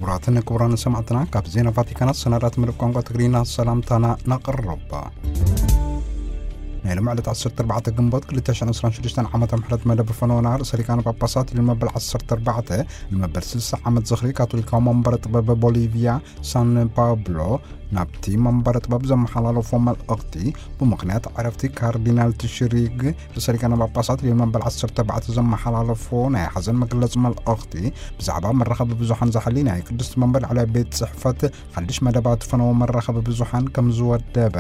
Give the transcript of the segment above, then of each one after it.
ክቡራትን ክቡራን ሰማዕትና፣ ካብ ዜና ቫቲካናት ሰናዳት መደብ ቋንቋ ትግርኛ ሰላምታና ናቕርባ። ናይ ሎም ዕለት ዓሰርተ ኣርባዕተ ግንቦት ክልተ ሽሕን ዕስራን ሽዱሽተን ዓመተ ምሕረት መደብ ፈነወና ርእሰ ሊቃነ ጳጳሳት ልዮን መበል ዓሰርተ ኣርባዕተ ንመበል ስልሳ ዓመት ዝኽሪ ካቶሊካዊ መንበረ ጥበብ ቦሊቪያ ሳን ፓብሎ ናብቲ መንበረ ጥበብ ዘመሓላለፎ መልእኽቲ፣ ብምኽንያት ዕረፍቲ ካርዲናል ትሽሪግ ርእሰ ሊቃነ ጳጳሳት ልዮን መበል ዓሰርተ ኣርባዕተ ዘመሓላለፎ ናይ ሓዘን መግለጺ መልእኽቲ፣ ብዛዕባ መራኸቢ ብዙሓን ዝሓሊ ናይ ቅድስቲ መንበር ላዕለዋይ ቤት ጽሕፈት ሓድሽ መደባት ፈነወ መራኸቢ ብዙሓን ከም ዝወደበ፣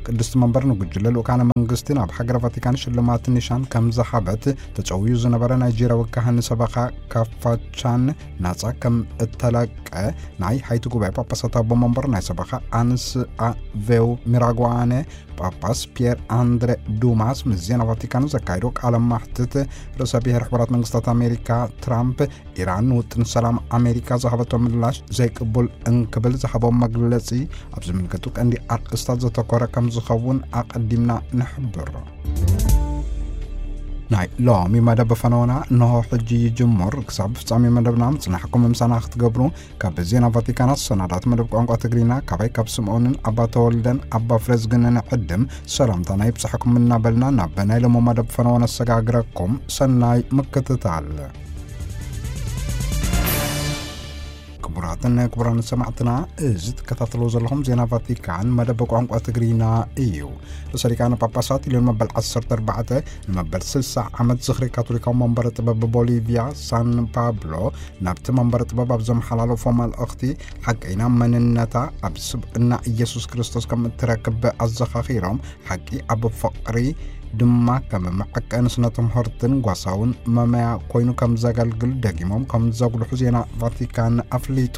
ቅድስቲ መንበር ንጉጅለ ልኡካነ መንግስቲ ናብ ሃገረ ቫቲካን ሽልማት ኒሻን ከም ዝሃበት ተጸውዩ ዝነበረ ናይጄርያዊ ካህን ሰበኻ ካፋቻን ናጻ ከም እተለቀ ናይ ሃይቲ ጉባኤ ጳጳሳት ኣቦ መንበር ናይ ሰበኻ ኣንስ ኣቬው ሚራጓነ ጳጳስ ፒየር ኣንድረ ዱማስ ምስ ዜና ቫቲካን ዘካየዶ ቃለ ማሕትት፣ ርእሰ ብሔር ሕቡራት መንግስታት ኣሜሪካ ትራምፕ ኢራን ንውጥን ሰላም ኣሜሪካ ዝሃበቶ ምላሽ ዘይቅቡል እንክብል ዝሃቦ መግለጺ ኣብ ዝምልከቱ ቀንዲ ኣርእስታት ዘተኮረ ከም ዝኸውን ኣቐዲምና ንሕብር። ናይ ሎሚ መደብ ፈነወና እንሆ ሕጂ ይጅምር። ክሳብ ፍጻሜ መደብና ምጽናሕኩም ምሳና ክትገብሩ ካብ ዜና ቫቲካናት ሰናዳት መደብ ቋንቋ ትግርኛ ካባይ ካብ ስምዖንን ኣባ ተወልደን ኣባ ፍሬዝግንን ዕድም ሰላምታና ይብጻሕኩም እናበልና ናብ ናይ ሎሚ መደብ ፈነወ ነሰጋግረኩም። ሰናይ ምክትታል። ክቡራትን ክቡራን ሰማዕትና፣ እዚ ትከታተልዎ ዘለኹም ዜና ቫቲካን መደብ ቋንቋ ትግርኛ እዩ። ርእሰ ሊቃነ ጳጳሳት ልዮን መበል ዓሰርተ ኣርባዕተ ንመበል ስልሳ ዓመት ዝኽሪ ካቶሊካዊ መንበረ ጥበብ ቦሊቪያ ሳን ፓብሎ ናብቲ መንበረ ጥበብ ኣብ ዘመሓላለፎ መልእኽቲ፣ ሓቀይና መንነታ ኣብ ስብእና ኢየሱስ ክርስቶስ ከም እትረክብ ኣዘኻኺሮም፣ ሓቂ ኣብ ፍቕሪ ድማ ከም መዐቀኒ ስነ ትምህርትን ጓሳውን መመያ ኮይኑ ከም ዘገልግል ደጊሞም ከም ዘጉልሑ ዜና ቫቲካን ኣፍሊጡ።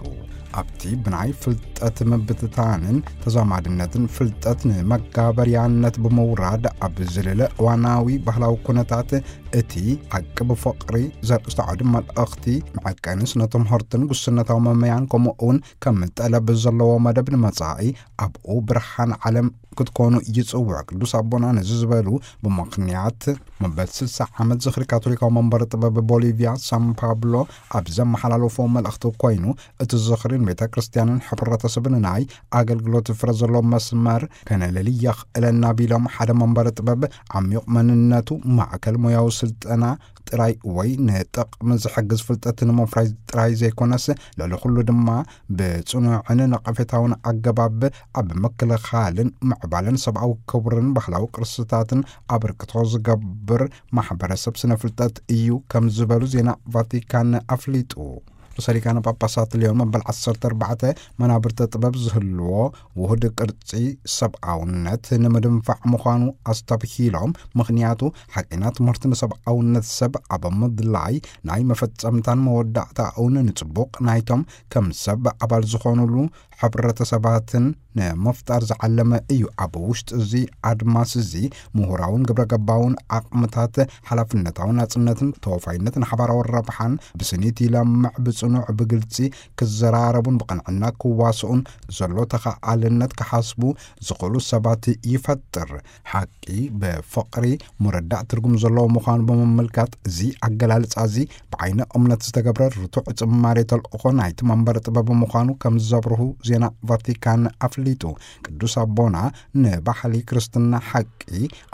ኣብቲ ብናይ ፍልጠት ምብትታንን ተዛማድነትን ፍልጠት ንመጋበርያነት ብምውራድ ኣብ ዝልለ እዋናዊ ባህላዊ ኩነታት፣ እቲ ሓቂ ብፍቕሪ ዘርእስቱ ዓውዲ መልእኽቲ መዐቀኒ ስነ ትምህርትን ጉስነታዊ መመያን ከምኡ እውን ከም ጠለብ ዘለዎ መደብ ንመጻኢ ኣብኡ ብርሃን ዓለም ክትኮኑ ይጽውዕ። ቅዱስ ኣቦና ነዚ ዝበሉ ብምኽንያት መበል ስልሳ ዓመት ዝኽሪ ካቶሊካዊ መንበረ ጥበብ ቦሊቪያ ሳን ፓብሎ ኣብ ዘመሓላለፎ መልእኽቲ ኮይኑ፣ እቲ ዝኽሪ ንቤተ ክርስቲያንን ሕብረተሰብን ናይ ኣገልግሎት ፍረ ዘለዎ መስመር ከነለሊ የኽእለና ቢሎም፣ ሓደ መንበረ ጥበብ ዓሚቕ መንነቱ፣ ማዕከል ሞያዊ ስልጠና ጥራይ ወይ ንጥቕሚ ዝሕግዝ ፍልጠት ንምፍራይ ጥራይ ዘይኮነስ፣ ልዕሊ ኩሉ ድማ ብጽኑዕን ነቐፌታውን ኣገባብ ኣብ ምክልኻልን ምዕባለን ሰብኣዊ ክብርን ባህላዊ ቅርስታትን ኣበርክቶ ዝገብር ማሕበረሰብ ስነ ፍልጠት እዩ ከም ዝበሉ ዜና ቫቲካን ኣፍሊጡ። ርእሰ ሊቃነ ጳጳሳት ልዮን መበል ዓሰርተ ኣርባዕተ መናብርተ ጥበብ ዝህልዎ ውሁድ ቅርጺ ሰብኣውነት ንምድንፋዕ ምዃኑ ኣስተብሂሎም፣ ምኽንያቱ ሓቂና ትምህርቲ ንሰብኣውነት ሰብ ኣብ ምድላይ ናይ መፈጸምታን መወዳእታኡን ንጽቡቕ ናይቶም ከም ሰብ ኣባል ዝኾኑሉ ሕብረተሰባትን ንምፍጣር ዝዓለመ እዩ። ኣብ ውሽጢ እዚ ኣድማስ እዚ ምሁራውን ግብረ ገባውን ዓቕምታት፣ ሓላፍነታዊ ናጽነትን ተወፋይነትን ሓባራዊ ረብሓን ብስኒት ይለምዕ፣ ብጽኑዕ ብግልጺ ክዘራረቡን ብቕንዕና ክዋስኡን ዘሎ ተኸኣልነት ክሓስቡ ዝኽእሉ ሰባት ይፈጥር። ሓቂ ብፍቕሪ ምርዳእ ትርጉም ዘለዎ ምዃኑ ብምምልካት፣ እዚ ኣገላልጻ እዚ ብዓይኒ እምነት ዝተገብረ ርቱዕ ጽማሬ ተልእኾ ናይቲ መንበረ ጥበብ ምዃኑ ከም ዘብርሁ ዜና ቫቲካን ኣፍሊጡ። ቅዱስ ኣቦና ንባህሊ ክርስትና ሓቂ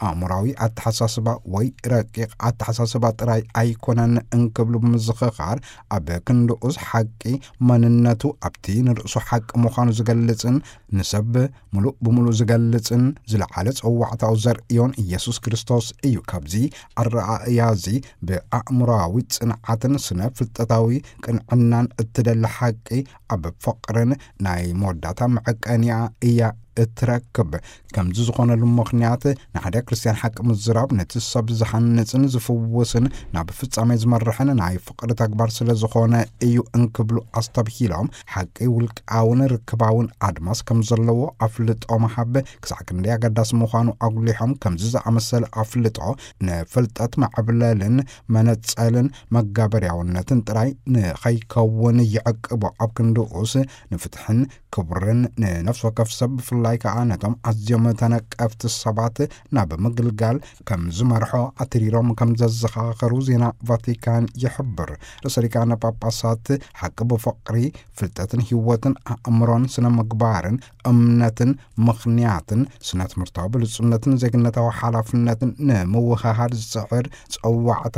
ኣእምራዊ ኣተሓሳስባ ወይ ረቂቕ ኣተሓሳስባ ጥራይ ኣይኮነን እንክብሉ ብምዝኽኻር፣ ኣብ ክንድኡስ ሓቂ መንነቱ ኣብቲ ንርእሱ ሓቂ ምዃኑ ዝገልጽን ንሰብ ምሉእ ብምሉእ ዝገልጽን ዝለዓለ ጸዋዕታኡ ዘርእዮን ኢየሱስ ክርስቶስ እዩ። ካብዚ ኣረኣእያ እዚ ብኣእምሮኣዊ ጽንዓትን ስነ ፍልጠታዊ ቅንዕናን እትደሊ ሓቂ ኣብ ፍቕርን ናይ መወዳእታ መዐቀኒኣ እያ እትረክብ። ከምዚ ዝኾነሉ ምኽንያት ንሓደ ክርስትያን ሓቂ ምዝራብ ነቲ ሰብ ዝሃንጽን ዝፍውስን ናብ ፍጻሜ ዝመርሕን ናይ ፍቕሪ ተግባር ስለ ዝኾነ እዩ እንክብሉ ኣስተብሂሎም፣ ሓቂ ውልቃውን ርክባውን ኣድማስ ከም ዘለዎ ኣፍልጦ ምሃብ ክሳዕ ክንደይ ኣገዳሲ ምዃኑ ኣጉሊሖም፣ ከምዚ ዝኣመሰለ ኣፍልጦ ንፍልጠት መዕብለልን መነጸልን መጋበርያውነትን ጥራይ ንኸይከውን ይዕቅቦ። ኣብ ክንድኡስ ንፍትሕን ክብርን ንነፍሲ ወከፍ ሰብ ብፍላይ ብፍላይ ከኣ ነቶም ኣዝዮም ተነቀፍቲ ሰባት ናብ ምግልጋል ከም ዝመርሖ ኣትሪሮም ከም ዘዘኻኸሩ ዜና ቫቲካን ይሕብር። ርእሰ ሊቃነ ጳጳሳት ሓቂ ብፍቕሪ፣ ፍልጠትን ህይወትን፣ ኣእምሮን ስነ ምግባርን፣ እምነትን ምኽንያትን፣ ስነ ትምህርታዊ ብልጹነትን ዜግነታዊ ሓላፍነትን ንምውህሃድ ዝጽዕር ጸዋዕታ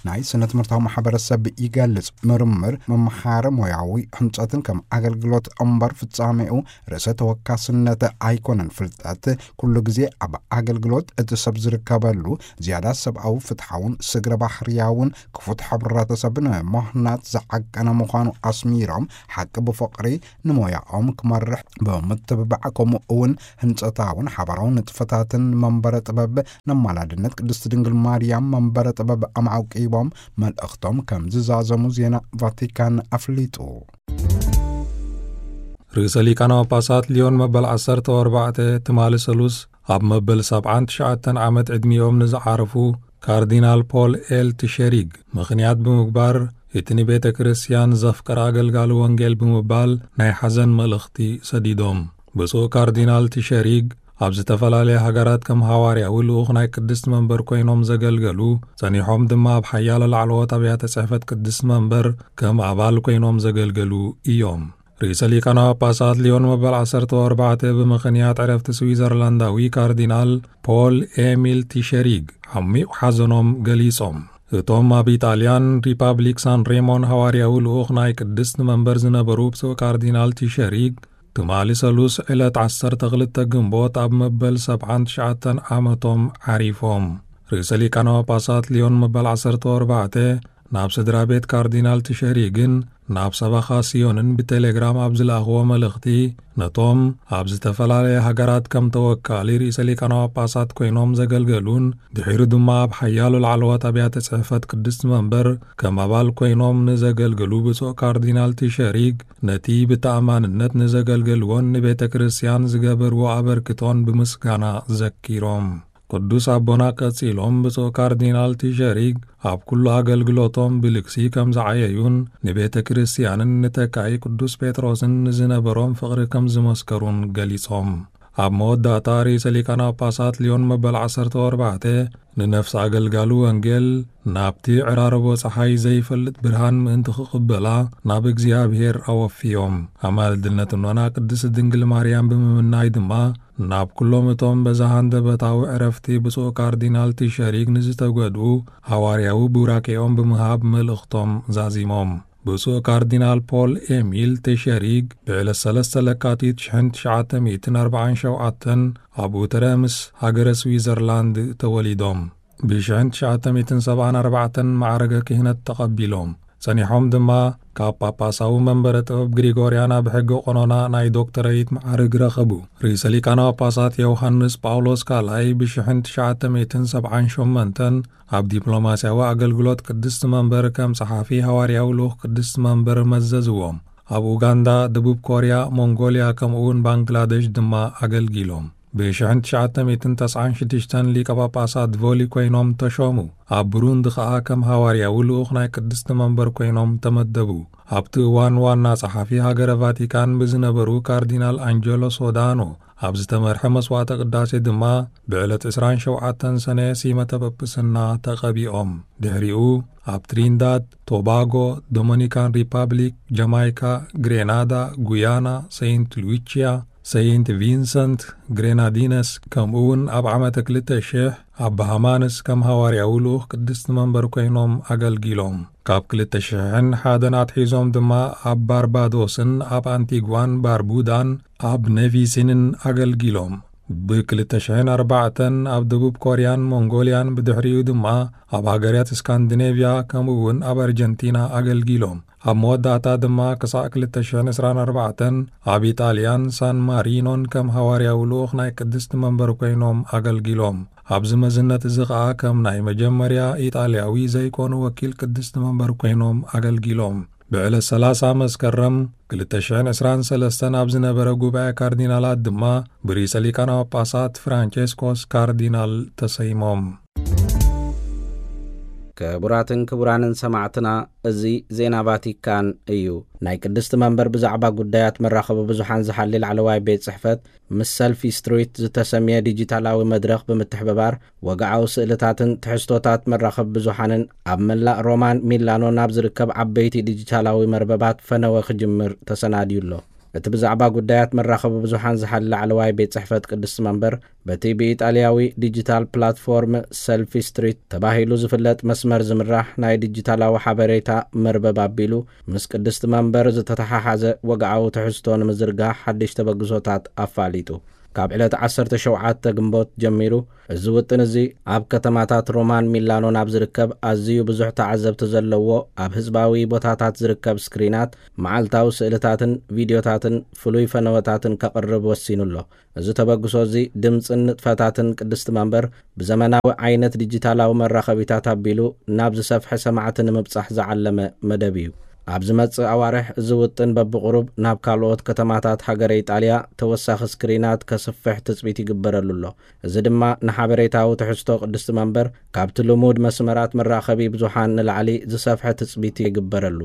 ናይ ስነ ትምህርታዊ ማሕበረሰብ ይገልጽ። ምርምር፣ ምምሃር፣ ሞያዊ ሕንጸትን ከም ኣገልግሎት እምበር ፍጻሜኡ ርእሰ ተወካስነት ኣይኮነን። ፍልጠት ኩሉ ግዜ ኣብ ኣገልግሎት እቲ ሰብ ዝርከበሉ ዝያዳ ሰብኣዊ፣ ፍትሓውን ስግረ ባህርያውን ክፉት ሕብረተሰብ ንምህናጽ ዝዓቀነ ምዃኑ ኣስሚሮም፣ ሓቂ ብፍቕሪ ንሞያኦም ክመርሕ ብምትብባዕ፣ ከምኡ እውን ህንጸታውን ሓባራውን ንጥፈታትን መንበረ ጥበብ ነማላድነት ቅድስቲ ድንግል ማርያም መንበረ ጥበብ ኣማዕቂቦም መልእኽቶም ከም ዝዛዘሙ ዜና ቫቲካን ኣፍሊጡ። ርእሰ ሊቃነ ጳጳሳት ሊዮን መበል ዓሰርተ ኣርባዕተ ትማሊ ሰሉስ ኣብ መበል ሰብዓን ትሽዓተን ዓመት ዕድሚኦም ንዝዓረፉ ካርዲናል ፖል ኤል ትሸሪግ ምኽንያት ብምግባር፣ እቲ ንቤተ ክርስቲያን ዘፍቅር ኣገልጋሊ ወንጌል ብምባል ናይ ሓዘን መልእኽቲ ሰዲዶም። ብፁዕ ካርዲናል ትሸሪግ ኣብ ዝተፈላለያ ሃገራት ከም ሃዋርያዊ ልኡኽ ናይ ቅድስቲ መንበር ኮይኖም ዘገልገሉ፣ ጸኒሖም ድማ ኣብ ሓያሎ ላዕለዎት ኣብያተ ጽሕፈት ቅድስቲ መንበር ከም ኣባል ኮይኖም ዘገልገሉ እዮም። ርእሰ ሊቃነ ጳጳሳት ሊዮን መበል ዓሰርተ ኣርባዕተ ብምኽንያት ዕረፍቲ ስዊዘርላንዳዊ ካርዲናል ፖል ኤሚል ቲሸሪግ ዓሚቕ ሓዘኖም ገሊጾም። እቶም ኣብ ኢጣልያን ሪፓብሊክ ሳን ሬሞን ሃዋርያዊ ልኡኽ ናይ ቅድስቲ መንበር ዝነበሩ ብፁዕ ካርዲናል ቲሸሪግ፣ ትማሊ ሰሉስ ዕለት ዓሰርተ ክልተ ግንቦት ኣብ መበል ሰብዓን ትሽዓተን ዓመቶም ዓሪፎም። ርእሰ ሊቃነ ጳጳሳት ሊዮን መበል ዓሰርተ ኣርባዕተ ናብ ስድራ ቤት ካርዲናል ቲሸሪግን ናብ ሰበኻ ስዮንን ብቴሌግራም ኣብ ዝለኣኽዎ መልእኽቲ፣ ነቶም ኣብ ዝተፈላለየ ሃገራት ከም ተወካሊ ርእሰ ሊቃነ ጳጳሳት ኮይኖም ዘገልገሉን ድሒሩ ድማ ኣብ ሓያሎ ላዕለዎት ኣብያተ ጽሕፈት ቅድስቲ መንበር ከም ኣባል ኮይኖም ንዘገልግሉ ብፁዕ ካርዲናል ቲሸሪግ፣ ነቲ ብተኣማንነት ንዘገልገልዎን ንቤተ ክርስቲያን ዝገበርዎ ኣበርክቶን ብምስጋና ዘኪሮም። ቅዱስ ኣቦና ቀጺሎም፣ ብፁዕ ካርዲናል ቲሸሪግ ኣብ ኩሉ ኣገልግሎቶም ብልግሲ ከም ዝዓየዩን ንቤተ ክርስቲያንን ንተካኢ ቅዱስ ጴጥሮስን ንዝነበሮም ፍቕሪ ከም ዝመስከሩን ገሊጾም። ኣብ መወዳእታ ርእሰ ሊቃነ ጳጳሳት ሊዮን መበል ዓሰርተ ኣርባዕተ ንነፍሲ ኣገልጋሊ ወንጌል ናብቲ ዕራርቦ ጸሓይ ዘይፈልጥ ብርሃን ምእንቲ ክቕበላ ናብ እግዚኣብሔር ኣወፍዮም። ኣማልድነት እኖና ቅድስቲ ድንግል ማርያም ብምምናይ ድማ ናብ ኩሎም እቶም በዚ ሃንደበታዊ ዕረፍቲ ብፁዕ ካርዲናል ቲሸሪግ ንዝተጎድኡ ሃዋርያዊ ቡራኬኦም ብምሃብ መልእኽቶም ዛዚሞም። ብፁዕ ካርዲናል ፖል ኤሚል ቲሸሪግ ብዕለት ሰለስተ ለካቲት ሽሕን ትሽዓተ ሚእትን ኣርባዓን ሸውዓተን ኣብ ኡተረምስ ሃገረ ስዊዘርላንድ ተወሊዶም። ብሽሕን ትሽዓተ ሚእትን ሰብዓን ኣርባዕተን ማዕረገ ክህነት ተቐቢሎም። ጸኒሖም ድማ ካብ ጳጳሳዊ መንበረ ጥበብ ግሪጎርያ ናብ ሕጊ ቆኖና ናይ ዶክተረይት መዓርግ ረኸቡ። ርእሰ ሊቃነ ጳጳሳት ዮሃንስ ጳውሎስ ካልኣይ ብሽሕን ትሽዓተ ሚእትን ሰብዓን ሸሞንተን ኣብ ዲፕሎማስያዊ ኣገልግሎት ቅድስቲ መንበር ከም ጸሓፊ ሃዋርያዊ ልኡኽ ቅድስቲ መንበር መዘዝዎም። ኣብ ኡጋንዳ፣ ደቡብ ኮርያ፣ ሞንጎልያ ከምኡውን ባንግላደሽ ድማ ኣገልጊሎም። ብሽሕን ትሽዓተ ሚእትን ተስዓን ሽዱሽተን ሊቀ ጳጳሳት ቮሊ ኮይኖም ተሾሙ። ኣብ ብሩንዲ ኸኣ ከም ሃዋርያዊ ልኡኽ ናይ ቅድስቲ መንበር ኮይኖም ተመደቡ። ኣብቲ እዋን ዋና ጸሓፊ ሃገረ ቫቲካን ብዝነበሩ ካርዲናል ኣንጀሎ ሶዳኖ ኣብ ዝተመርሐ መስዋዕተ ቅዳሴ ድማ ብዕለት ዕስራን ሸውዓተን ሰነ ሲመተ ጵጵስና ተቐቢኦም። ድሕሪኡ ኣብ ትሪንዳድ፣ ቶባጎ፣ ዶሚኒካን ሪፓብሊክ፣ ጃማይካ፣ ግሬናዳ፣ ጉያና፣ ሰይንት ሉዊቺያ፣ ሰይንት ቪንሰንት ግሬናዲነስ፣ ከምኡውን ኣብ ዓመተ ክልተ ሽሕ ኣብ ባሃማንስ ከም ሃዋርያዊ ልኡኽ ቅድስቲ መንበር ኮይኖም ኣገልጊሎም። ካብ ክልተ ሽሕን ሓደን ኣትሒዞም ድማ ኣብ ባርባዶስን ኣብ ኣንቲጓን ባርቡዳን ኣብ ኔቪሲንን ኣገልጊሎም። ብክልተ ሽሕን ኣርባዕተን ኣብ ደቡብ ኮርያን ሞንጎልያን፣ ብድሕሪኡ ድማ ኣብ ሃገራት ስካንዲኔቭያ ከምኡውን ኣብ ኣርጀንቲና ኣገልጊሎም። ኣብ መወዳእታ ድማ ክሳዕ ክልተ ሽሕን ዕስራን ኣርባዕተን ኣብ ኢጣልያን ሳን ማሪኖን ከም ሃዋርያዊ ልኡኽ ናይ ቅድስቲ መንበር ኮይኖም ኣገልጊሎም። ኣብዚ መዝነት እዚ ኸኣ ከም ናይ መጀመርያ ኢጣልያዊ ዘይኮኑ ወኪል ቅድስቲ መንበር ኮይኖም ኣገልጊሎም። ብዕለት ሰላሳ መስከረም ክልተ ሽሕን ዕስራን ሰለስተን ኣብ ዝነበረ ጉባኤ ካርዲናላት ድማ ብርእሰ ሊቃነ ጳጳሳት ፍራንቸስኮስ ካርዲናል ተሰይሞም። ክቡራትን ክቡራንን ሰማዕትና፣ እዚ ዜና ቫቲካን እዩ። ናይ ቅድስቲ መንበር ብዛዕባ ጉዳያት መራኸቢ ብዙሓን ዝሓሊ ላዕለዋይ ቤት ጽሕፈት፣ ምስ ሰልፊ ስትሪት ዝተሰምየ ዲጂታላዊ መድረኽ ብምትሕብባር፣ ወግዓዊ ስእልታትን ትሕዝቶታት መራኸቢ ብዙሓንን ኣብ መላእ ሮማን ሚላኖ ናብ ዝርከብ ዓበይቲ ዲጂታላዊ መርበባት ፈነወ ክጅምር ተሰናድዩ ኣሎ። እቲ ብዛዕባ ጉዳያት መራኸቢ ብዙሓን ዝሓሊ ላዕለዋይ ቤት ጽሕፈት ቅድስቲ መንበር፣ በቲ ብኢጣልያዊ ዲጂታል ፕላትፎርም ሰልፊ ስትሪት ተባሂሉ ዝፍለጥ መስመር ዝምራሕ ናይ ዲጂታላዊ ሓበሬታ መርበብ ኣቢሉ፣ ምስ ቅድስቲ መንበር ዝተተሓሓዘ ወግዓዊ ትሕዝቶ ንምዝርጋሕ ሓድሽ ተበግሶታት ኣፋሊጡ። ካብ ዕለት ዓሰርተ ሸውዓተ ግንቦት ጀሚሩ፣ እዚ ውጥን እዚ ኣብ ከተማታት ሮማን ሚላኖ ናብ ዝርከብ ኣዝዩ ብዙሕ ተዓዘብቲ ዘለዎ ኣብ ህዝባዊ ቦታታት ዝርከብ ስክሪናት መዓልታዊ ስእልታትን ቪድዮታትን ፍሉይ ፈነወታትን ከቕርብ ወሲኑ ኣሎ። እዚ ተበግሶ እዚ ድምጽን ንጥፈታትን ቅድስቲ መንበር ብዘመናዊ ዓይነት ዲጂታላዊ መራኸቢታት ኣቢሉ ናብ ዝሰፍሐ ሰማዕቲ ንምብጻሕ ዝዓለመ መደብ እዩ። ኣብ ዝመጽእ ኣዋርሕ እዚ ውጥን በብቕሩብ ናብ ካልኦት ከተማታት ሃገረ ኢጣልያ ተወሳኺ ስክሪናት ከስፍሕ ትጽቢት ይግበረሉ ኣሎ። እዚ ድማ ንሓበሬታዊ ትሕዝቶ ቅድስቲ መንበር ካብቲ ልሙድ መስመራት መራኸቢ ብዙሓን ንላዕሊ ዝሰፍሐ ትጽቢት ይግበረሉ።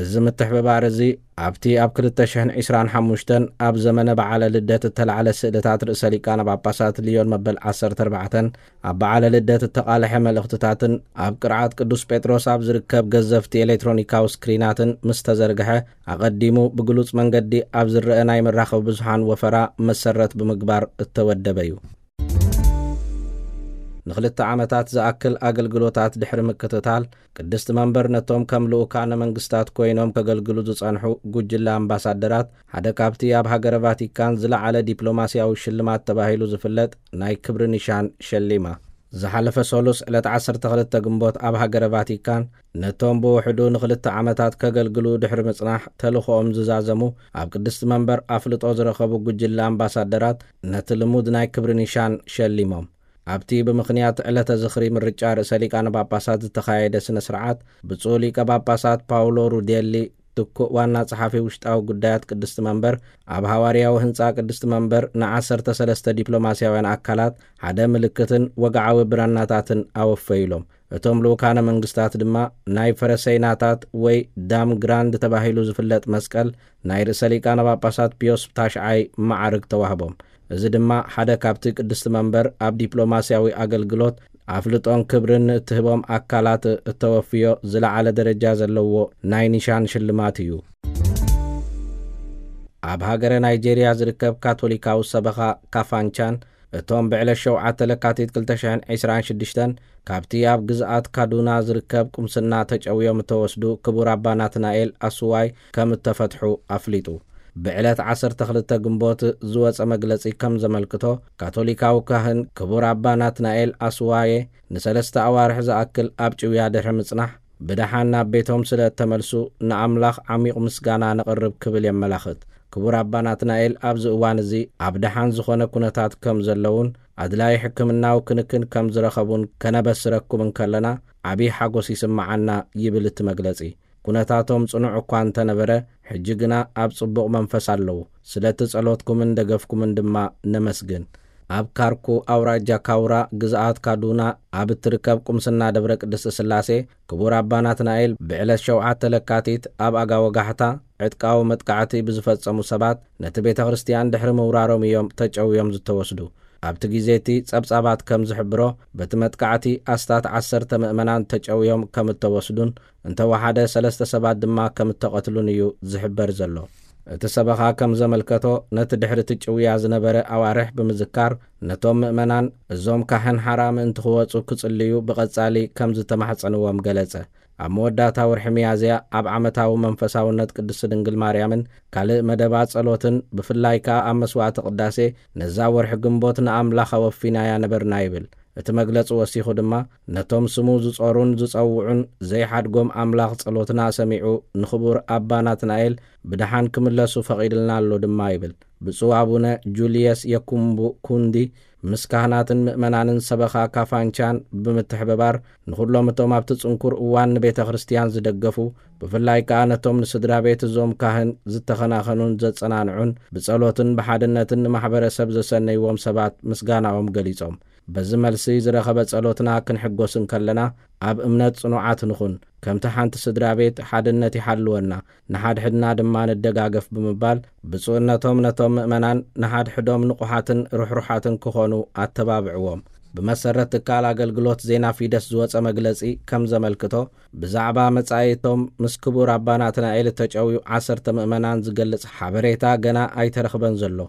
እዚ ምትሕብባር እዚ ኣብቲ ኣብ ክልተ ሽሕን ዕስራን ሓሙሽተን ኣብ ዘመነ በዓለ ልደት እተላዕለ ስእልታት ርእሰ ሊቃነ ጳጳሳት ልዮን መበል ዓሰርተ ኣርባዕተን ኣብ በዓለ ልደት እተቓልሐ መልእኽትታትን ኣብ ቅርዓት ቅዱስ ጴጥሮስ ኣብ ዝርከብ ገዘፍቲ ኤሌክትሮኒካዊ ስክሪናትን ምስ ተዘርግሐ፣ ኣቐዲሙ ብግሉጽ መንገዲ ኣብ ዝረአ ናይ መራኸቢ ብዙሓን ወፈራ መሰረት ብምግባር እተወደበ እዩ። ንኽልተ ዓመታት ዝኣክል ኣገልግሎታት ድሕሪ ምክትታል፣ ቅድስቲ መንበር ነቶም ከም ልኡካነ መንግስታት ኮይኖም ከገልግሉ ዝጸንሑ ጉጅለ ኣምባሳደራት ሓደ ካብቲ ኣብ ሃገረ ቫቲካን ዝለዓለ ዲፕሎማስያዊ ሽልማት ተባሂሉ ዝፍለጥ ናይ ክብሪ ኒሻን ሸሊማ። ዝሓለፈ ሰሉስ ዕለት ዓሰርተ ክልተ ግንቦት ኣብ ሃገረ ቫቲካን ነቶም ብውሕዱ ንኽልተ ዓመታት ከገልግሉ ድሕሪ ምጽናሕ ተልእኾኦም ዝዛዘሙ ኣብ ቅድስቲ መንበር ኣፍልጦ ዝረኸቡ ጉጅለ ኣምባሳደራት ነቲ ልሙድ ናይ ክብሪ ኒሻን ሸሊሞም። ኣብቲ ብምኽንያት ዕለተ ዝኽሪ ምርጫ ርእሰ ሊቃነ ጳጳሳት ዝተኻየደ ስነ ስርዓት፣ ብፁዕ ሊቀ ጳጳሳት ፓውሎ ሩዴሊ ትኩእ ዋና ጸሓፊ ውሽጣዊ ጉዳያት ቅድስቲ መንበር፣ ኣብ ሃዋርያዊ ህንጻ ቅድስቲ መንበር ንዓሰርተ ሰለስተ ዲፕሎማስያውያን ኣካላት ሓደ ምልክትን ወግዓዊ ብራናታትን ኣወፈዩሎም። እቶም ልኡካነ መንግስታት ድማ ናይ ፈረሰይናታት ወይ ዳም ግራንድ ተባሂሉ ዝፍለጥ መስቀል ናይ ርእሰ ሊቃነ ጳጳሳት ፒዮስ ታሽዓይ መዓርግ ተዋህቦም። እዚ ድማ ሓደ ካብቲ ቅድስቲ መንበር ኣብ ዲፕሎማስያዊ ኣገልግሎት ኣፍልጦን ክብርን ንእትህቦም ኣካላት እተወፍዮ ዝለዓለ ደረጃ ዘለዎ ናይ ኒሻን ሽልማት እዩ። ኣብ ሃገረ ናይጄርያ ዝርከብ ካቶሊካዊ ሰበኻ ካፋንቻን እቶም ብዕለት ሸውዓተ ለካቲት ክልተ ሽሕን ዕስራን ሽዱሽተን ካብቲ ኣብ ግዝኣት ካዱና ዝርከብ ቁምስና ተጨውዮም እተወስዱ ክቡር ኣባ ናትናኤል ኣስዋይ ከም እተፈትሑ ኣፍሊጡ። ብዕለት ዓሰርተ ክልተ ግንቦት ዝወጸ መግለጺ ከም ዘመልክቶ፣ ካቶሊካዊ ካህን ክቡር ኣባ ናትናኤል ኣስዋየ ንሰለስተ ኣዋርሕ ዝኣክል ኣብ ጭውያ ድሕሪ ምጽናሕ፣ ብደሓን ናብ ቤቶም ስለ እተመልሱ ንኣምላኽ ዓሚቕ ምስጋና ነቕርብ ክብል የመላኽት። ክቡር ኣባ ናትናኤል ኣብዚ እዋን እዚ ኣብ ደሓን ዝኾነ ኩነታት ከም ዘለውን ኣድላዪ ሕክምናዊ ክንክን ከም ዝረኸቡን ከነበስረኩም እንከለና ዓብዪ ሓጎስ ይስምዓና ይብል እቲ መግለጺ። ኩነታቶም ጽኑዕ እኳ እንተነበረ፣ ሕጂ ግና ኣብ ጽቡቕ መንፈስ ኣለዉ። ስለቲ ጸሎትኩምን ደገፍኩምን ድማ ነመስግን። ኣብ ካርኩ ኣውራጃ ካውራ ግዝኣት ካዱና ኣብ እትርከብ ቁምስና ደብረ ቅድስቲ ስላሴ ክቡር ኣባ ናትናኤል ብዕለት ሸውዓተ ለካቲት ኣብ ኣጋ ወጋሕታ ዕጥቃዊ መጥቃዕቲ ብዝፈጸሙ ሰባት ነቲ ቤተ ክርስቲያን ድሕሪ ምውራሮም እዮም ተጨውዮም ዝተወስዱ። ኣብቲ ግዜ እቲ ጸብጻባት ከም ዝሕብሮ፣ በቲ መጥቃዕቲ ኣስታት ዓሰርተ ምእመናን ተጨውዮም ከም እተወስዱን እንተወሓደ ሰለስተ ሰባት ድማ ከም እተቐትሉን እዩ ዝሕበር ዘሎ። እቲ ሰበኻ ከም ዘመልከቶ፣ ነቲ ድሕሪ እቲ ጭውያ ዝነበረ ኣዋርሕ ብምዝካር፣ ነቶም ምእመናን እዞም ካህን ሓራ ምእንቲ ክወጹ ክጽልዩ ብቐጻሊ ከም ዝተማሕጸንዎም ገለጸ። ኣብ መወዳእታ ወርሒ ሚያዝያ ኣብ ዓመታዊ መንፈሳውነት ቅድስቲ ድንግል ማርያምን ካልእ መደባ ጸሎትን ብፍላይ ከኣ ኣብ መስዋዕቲ ቅዳሴ ነዛ ወርሒ ግንቦት ንኣምላኽ ኣወፊናያ ነበርና ይብል። እቲ መግለጺ ወሲኹ ድማ ነቶም ስሙ ዝጾሩን ዝጸውዑን ዘይሓድጎም ኣምላኽ ጸሎትና ሰሚዑ ንኽቡር ኣባ ናትናኤል ብደሓን ክምለሱ ፈቒድልና ኣሎ ድማ ይብል። ብፁዕ ኣቡነ ጁልየስ የኩምቡ ኩንዲ ምስ ካህናትን ምእመናንን ሰበኻ ካፋንቻን ብምትሕብባር ንኹሎም እቶም ኣብቲ ጽንኩር እዋን ንቤተ ክርስቲያን ዝደገፉ ብፍላይ ከኣ ነቶም ንስድራ ቤት እዞም ካህን ዝተኸናኸኑን ዘጸናንዑን ብጸሎትን ብሓድነትን ንማሕበረሰብ ዘሰነይዎም ሰባት ምስጋናኦም ገሊጾም። በዚ መልሲ ዝረኸበ ጸሎትና ክንሕጎስ እንከለና፣ ኣብ እምነት ጽኑዓት ንኹን፣ ከምቲ ሓንቲ ስድራ ቤት ሓድነት ይሓልወና፣ ንሓድሕድና ድማ ንደጋገፍ ብምባል፣ ብፁዕነቶም ነቶም ምእመናን ንሓድሕዶም ንቑሓትን ርሕሩሓትን ክኾኑ ኣተባብዕዎም። ብመሰረት ትካል ኣገልግሎት ዜና ፊደስ ዝወጸ መግለጺ ከም ዘመልክቶ፣ ብዛዕባ መጻኢቶም ምስ ክቡር ኣባ ናትናኤል እተጨውዩ ዓሰርተ ምእመናን ዝገልጽ ሓበሬታ ገና ኣይተረኽበን ዘሎ።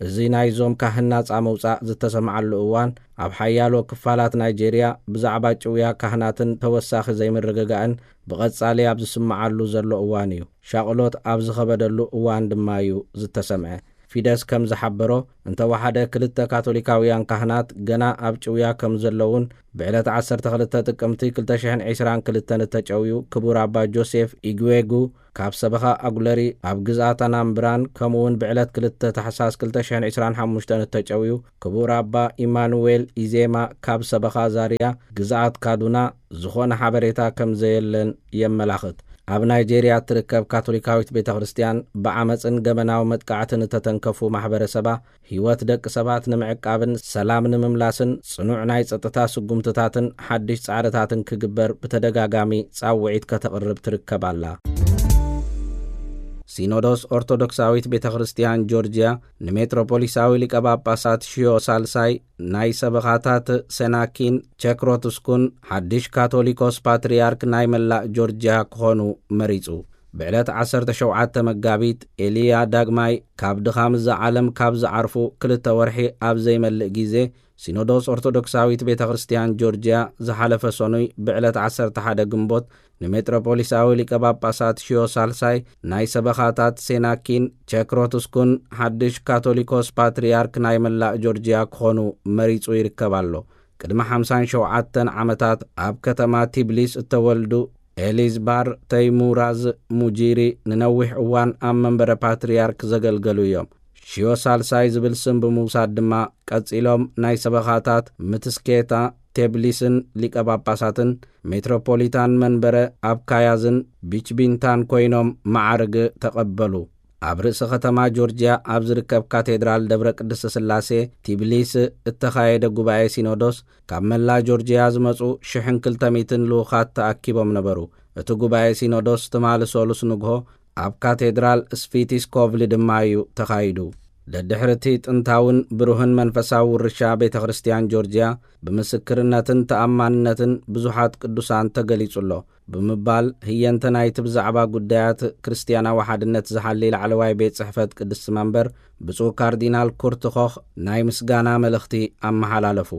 እዚ ናይዞም ካህን ናጻ ምውጻእ ዝተሰምዓሉ እዋን፣ ኣብ ሓያሎ ክፋላት ናይጄርያ ብዛዕባ ጭውያ ካህናትን ተወሳኺ ዘይምርግጋእን ብቐጻሊ ኣብ ዝስምዓሉ ዘሎ እዋን እዩ። ሻቕሎት ኣብ ዝኸበደሉ እዋን ድማ እዩ ዝተሰምዐ። ፊደስ ከም ዝሓበሮ፣ እንተወሓደ ክልተ ካቶሊካውያን ካህናት ገና ኣብ ጭውያ ከም ዘለውን፣ ብዕለት ዓሰርተ ክልተ ጥቅምቲ ክልተ ሽሕን ዕስራን ክልተን እተጨውዩ ክቡር ኣባ ጆሴፍ ኢግዌጉ ካብ ሰበኻ ኣጉለሪ ኣብ ግዝኣት ኣናምብራን፣ ከምኡውን ብዕለት ክልተ ታሕሳስ ክልተ ሽሕን ዕስራን ሓሙሽተን እተጨውዩ ክቡር ኣባ ኢማኑዌል ኢዜማ ካብ ሰበኻ ዛርያ ግዝኣት ካዱና ዝኾነ ሓበሬታ ከም ዘየለን የመላኽት። ኣብ ናይጄርያ እትርከብ ካቶሊካዊት ቤተ ክርስቲያን ብዓመፅን ገበናዊ መጥቃዕትን እተተንከፉ ማሕበረሰባ፣ ህይወት ደቂ ሰባት ንምዕቃብን ሰላም ንምምላስን ጽኑዕ ናይ ጸጥታ ስጉምትታትን ሓድሽ ጻዕርታትን ክግበር ብተደጋጋሚ ጻውዒት ከተቕርብ ትርከብ ኣላ። ሲኖዶስ ኦርቶዶክሳዊት ቤተ ክርስቲያን ጆርጅያ ንሜትሮፖሊሳዊ ሊቀ ጳጳሳት ሽዮ ሳልሳይ ናይ ሰበኻታት ሴናኪን ቸክሮትስኩን ሓድሽ ካቶሊኮስ ፓትርያርክ ናይ መላእ ጆርጅያ ክኾኑ መሪጹ። ብዕለት ዓሰርተ ሸውዓተ መጋቢት ኤልያ ዳግማይ ካብ ድኻም እዛ ዓለም ካብ ዝዓርፉ ክልተ ወርሒ ኣብ ዘይመልእ ግዜ፣ ሲኖዶስ ኦርቶዶክሳዊት ቤተ ክርስቲያን ጆርጅያ ዝሓለፈ ሰኑይ ብዕለት ዓሰርተ ሓደ ግንቦት ንሜትሮፖሊሳዊ ሊቀ ጳጳሳት ሽዮ ሳልሳይ ናይ ሰበኻታት ሴናኪን ቸክሮትስኩን ሓድሽ ካቶሊኮስ ፓትርያርክ ናይ መላእ ጆርጅያ ክኾኑ መሪጹ ይርከብ ኣሎ። ቅድሚ ሓምሳን ሸውዓተን ዓመታት ኣብ ከተማ ቲብሊስ እተወልዱ ኤሊዝባር ተይሙራዝ ሙጂሪ ንነዊሕ እዋን ኣብ መንበረ ፓትርያርክ ዘገልገሉ እዮም። ሽዮ ሳልሳይ ዝብል ስም ብምውሳድ ድማ ቀጺሎም ናይ ሰበኻታት ምትስኬታ ቴብሊስን ሊቀ ጳጳሳትን ሜትሮፖሊታን መንበረ ኣብ ካያዝን ቢችቢንታን ኮይኖም መዓርግ ተቐበሉ። ኣብ ርእሲ ከተማ ጆርጅያ ኣብ ዝርከብ ካቴድራል ደብረ ቅድስተ ስላሴ ቲብሊስ እተኻየደ ጉባኤ ሲኖዶስ ካብ መላ ጆርጅያ ዝመጹ ሽሕን ክልተ ሚእትን ልኡኻት ተኣኪቦም ነበሩ። እቲ ጉባኤ ሲኖዶስ ትማሊ ሰሉስ ንግሆ ኣብ ካቴድራል ስፊቲስኮቭሊ ድማ እዩ ተኻይዱ። ደድሕሪ እቲ ጥንታውን ብሩህን መንፈሳዊ ውርሻ ቤተ ክርስቲያን ጆርጅያ፣ ብምስክርነትን ተኣማንነትን ብዙሓት ቅዱሳን ተገሊጹ ኣሎ ብምባል፣ ህየንተ ናይቲ ብዛዕባ ጉዳያት ክርስትያናዊ ሓድነት ዝሓሊ ላዕለዋይ ቤት ጽሕፈት ቅድስቲ መንበር ብፁዕ ካርዲናል ኩርት ኮኽ ናይ ምስጋና መልእኽቲ ኣመሓላለፉ።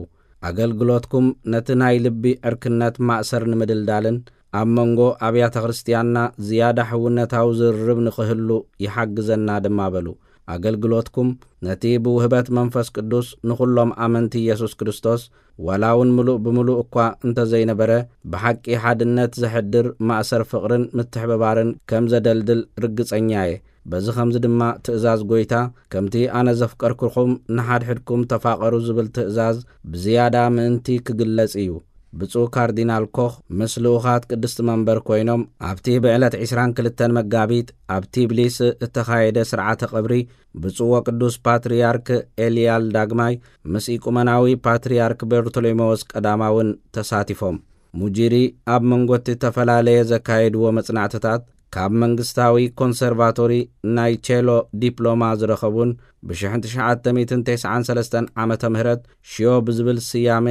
ኣገልግሎትኩም ነቲ ናይ ልቢ ዕርክነት ማእሰር ንምድልዳልን ኣብ መንጎ ኣብያተ ክርስቲያንና ዝያዳ ሕውነታዊ ዝርርብ ንኽህሉ ይሓግዘና ድማ በሉ። ኣገልግሎትኩም ነቲ ብውህበት መንፈስ ቅዱስ ንኹሎም ኣመንቲ ኢየሱስ ክርስቶስ፣ ዋላ እውን ምሉእ ብምሉእ እኳ እንተዘይነበረ፣ ብሓቂ ሓድነት ዘሕድር ማእሰር ፍቕርን ምትሕብባርን ከም ዘደልድል ርግጸኛ እየ። በዚ ኸምዚ ድማ ትእዛዝ ጐይታ፣ "ከምቲ ኣነ ዘፍቀርኩኹም ንሓድሕድኩም ተፋቐሩ" ዝብል ትእዛዝ ብዝያዳ ምእንቲ ክግለጽ እዩ። ብፁዕ ካርዲናል ኮኽ ምስ ልኡኻት ቅድስቲ መንበር ኮይኖም ኣብቲ ብዕለት ዕስራን ክልተን መጋቢት ኣብ ቲብሊስ እተኻየደ ስርዓተ ቀብሪ ብፁዕ ወቅዱስ ፓትርያርክ ኤልያል ዳግማይ ምስ ኢቁመናዊ ፓትርያርክ በርቶሎሜዎስ ቀዳማውን ተሳቲፎም። ሙጂሪ ኣብ መንጎ እቲ ተፈላለየ ዘካየድዎ መጽናዕትታት፣ ካብ መንግስታዊ ኮንሰርቫቶሪ ናይ ቼሎ ዲፕሎማ ዝረኸቡን ብሽሕን ትሽዓተ ሚእትን ተስዓን ሰለስተን ዓመተ ምህረት ሽዮ ብዝብል ስያመ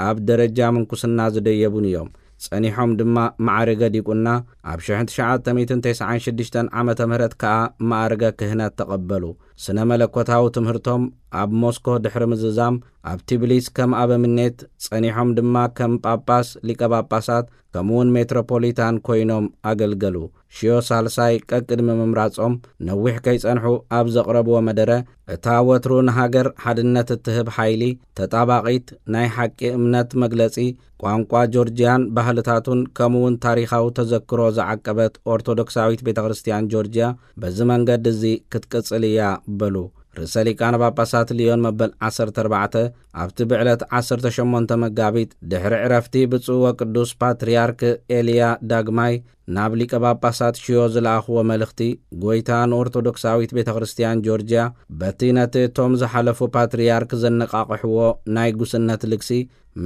ኣብ ደረጃ ምንኩስና ዝደየቡን እዮም። ጸኒሖም ድማ ማዕርገ ዲቁና ኣብ ሽሕን ትሽዓተ ሚእትን ተስዓን ሽዱሽተን ዓመተ ምህረት ከኣ ማዕርገ ክህነት ተቐበሉ። ስነ መለኮታዊ ትምህርቶም ኣብ ሞስኮ ድሕሪ ምዝዛም፣ ኣብ ቲብሊስ ከም ኣበምኔት ጸኒሖም ድማ ከም ጳጳስ፣ ሊቀ ጳጳሳት፣ ከምኡውን ሜትሮፖሊታን ኮይኖም ኣገልገሉ። ሽዮ ሳልሳይ ቀቅድሚ ምምራጾም ነዊሕ ከይጸንሑ ኣብ ዘቕረብዎ መደረ፣ እታ ወትሩ ንሃገር ሓድነት እትህብ ሓይሊ፣ ተጣባቒት ናይ ሓቂ እምነት መግለጺ፣ ቋንቋ ጆርጅያን ባህልታቱን ከምኡውን ታሪኻዊ ተዘክሮ ዝዓቀበት ኦርቶዶክሳዊት ቤተ ክርስቲያን ጆርጅያ በዚ መንገዲ እዚ ክትቅጽል እያ በሉ። ርእሰ ሊቃነ ጳጳሳት ሊዮን መበል ዓሰርተ ኣርባዕተ ኣብቲ ብዕለት ዓሰርተ ሸሞንተ መጋቢት ድሕሪ ዕረፍቲ ብፁዕ ወቅዱስ ፓትርያርክ ኤልያ ዳግማይ ናብ ሊቀ ጳጳሳት ሽዮ ዝለኣኽዎ መልእኽቲ፣ ጎይታ ንኦርቶዶክሳዊት ቤተ ክርስቲያን ጆርጅያ በቲ ነቲ እቶም ዝሓለፉ ፓትርያርክ ዘነቓቕሕዎ ናይ ጉስነት ልግሲ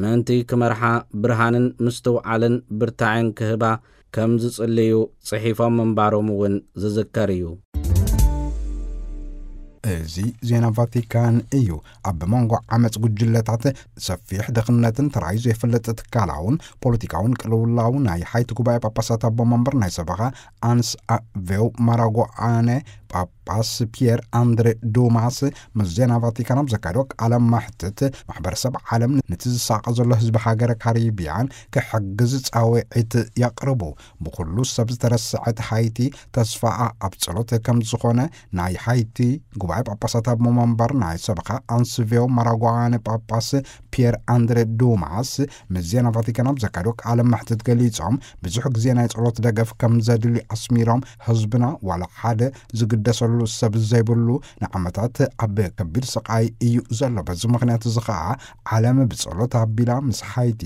ምእንቲ ክመርሓ ብርሃንን ምስትውዓልን ብርታዕን ክህባ ከም ዝጽልዩ ጽሒፎም ምንባሮም እውን ዝዝከር እዩ። እዚ ዜና ቫቲካን እዩ። ኣብ መንጎ ዓመፅ ጉጅለታት ሰፊሕ ድኽነትን ተራእዩ ዘይፈልጥ ትካላውን ፖለቲካውን ቅልውላው ናይ ሓይቲ ጉባኤ ጳጳሳት ኣቦ መንበር ናይ ሰበኻ ኣንስ ቬው ማራጎኣነ ጳጳስ ፒየር ኣንድሬ ዱማስ ምስ ዜና ቫቲካን ኣብ ዘካየዶ ቃለ መሕትት፣ ማሕበረሰብ ዓለም ነቲ ዝሳቐ ዘሎ ህዝቢ ሃገረ ካሪቢያን ክሕግዝ ጻውዒት የቕርቡ። ብኩሉ ሰብ ዝተረስዐት ሃይቲ ተስፋኣ ኣብ ጸሎት ከም ዝኾነ ናይ ሃይቲ ጉባኤ ጳጳሳት ኣቦ መንበር ናይ ሰበኻ ኣንስቬው ማራጓነ ጳጳስ ፒየር ኣንድሬ ዱማስ ምስ ዜና ቫቲካን ኣብ ዘካየዶ ቃለ መሕትት ገሊጾም፣ ብዙሕ ግዜ ናይ ጸሎት ደገፍ ከም ዘድሊ ኣስሚሮም፣ ህዝብና ዋላ ሓደ ዝግደሰሉ ሰብ ዘይብሉ ንዓመታት ኣብ ከቢድ ስቓይ እዩ ዘሎ። በዚ ምኽንያት እዚ ኸኣ ዓለም ብጸሎት ኣቢላ ምስ ሃይቲ